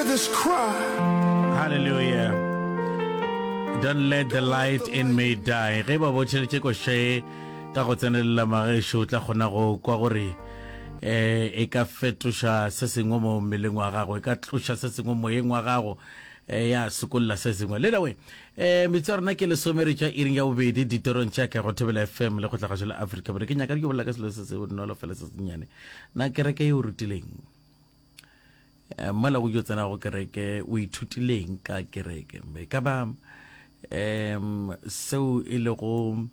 Hear this cry. Hallelujah. Don't let the light in me die. Ge ba botšheletše koše ka go tsenelela magešo o tla kgona go kwa gore eh e ka fetoša se sengwe mo mmeleng wa gago e ka tloša se sengwe moyeng wa gago eh, ya sokolla se sengwe le dawe eh metsi ya rena ke lesome re tša iring ya bobedi ditorong tša ka go thobela fm le go tlagašo la afrika borwa ke nyaka ke bolela ka selo se se bonolo fela se sennyane na kereke e o rutileng eh, mola o yo tsena go kereke o ithutileng ka kereke e ka ba um seo e lego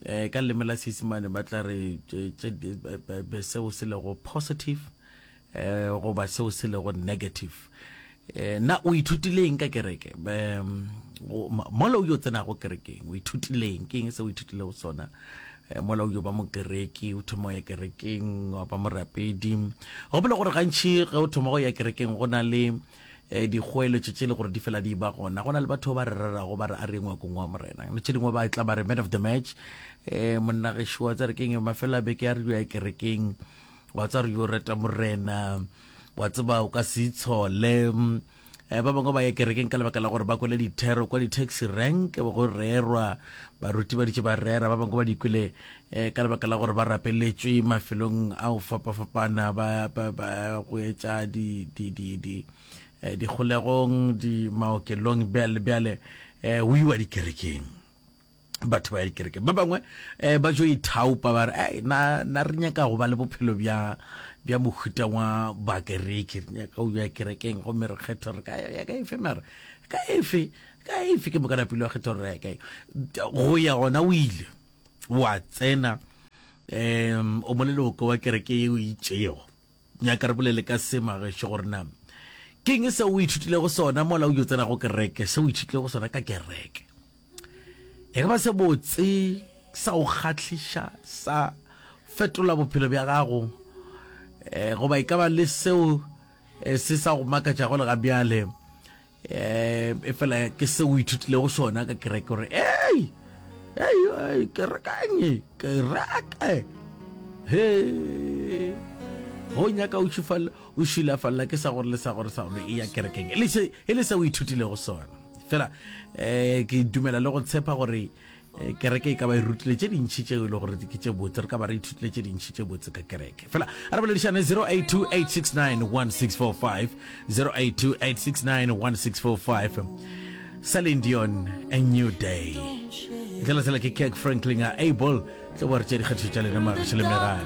eh ka leleme la Seisemane ba tla re seo se lego positive eh goba seo se lego negative eh na o ithutileng ka kereke mola o yo tsenago kerekeng o ithutileng ke eng se o ithutilego sona eh, mola o yo ba mokereki o thoma ya kerekeng wa ba morapedi gopola gore gantši ge o thoma go ya kerekeng go na le eh, dikgoeletšo tše le gore di fela di ba gona go na le batho ba re rerago ba re a re ngwakong wa morena le tše dingwe ba tla ba re man of the match um monna gešo wa tsare keng mafelo a beke a re yo ya kerekeng wa tsa re yo reta morena wa tseba o ka se itshole um ba bangwe ba ya kerekeng ka lebaka la gore ba kwele dithero kwa di-taxi rank go rerwa baruti ba ditše ba rera ba bangwe ba di kwele um ka lebaka la gore ba rapeletšwe mafelong a go fapafapana ba, ba, ba go etša di, di, di, di, eh, dikgolegong di maokelong bjale bjale um o iwa dikerekeng batho ba ya dikerekeng ba bangwe um ba jo ithaopa ba re ei na, na re nyaka go ba le bophelo bja bja mohuta wa bakereke re nyaka go ya kerekeng gomme re kgetha re ka ya ka efe mara ka efe ka efe ke moka napile wa kgetha gore re ya kae go ya gona o ile wa tsena um o moleloko wa kereke ye o itšego nyaka re bolele ka se magešo gore na ke eng se o ithutilego sona mola o yo tsena go kereke se o ithutilego sona ka kereke e ka ba se botse sa go kgahliša sa fetola bophelo bja gago um goba e ka ba le seo eh, se sa go makatšago le ga bjale eh e fela ke se o ithutilego sona ka kereke gore ei ei ei kerekanye kereke he go nyaka o šufalla o šulafalla ke sa gore le sa gore sa gore e ya kerekeng e le se e le se o ithutilego sona fela eh ke dumela le go tshepa gore Eh, kereke e ka ba e rutile tše dintšhi tše e le gore ke tše botse re ka ba re ithutile tše dintšhi tše botse ka kereke fela a re boledišane 0828691645 0828691645 Celine Dion a new day tlela tsela ke Kirk Franklin a able tlo ba re tše dikgetho tša lena magašo le megala.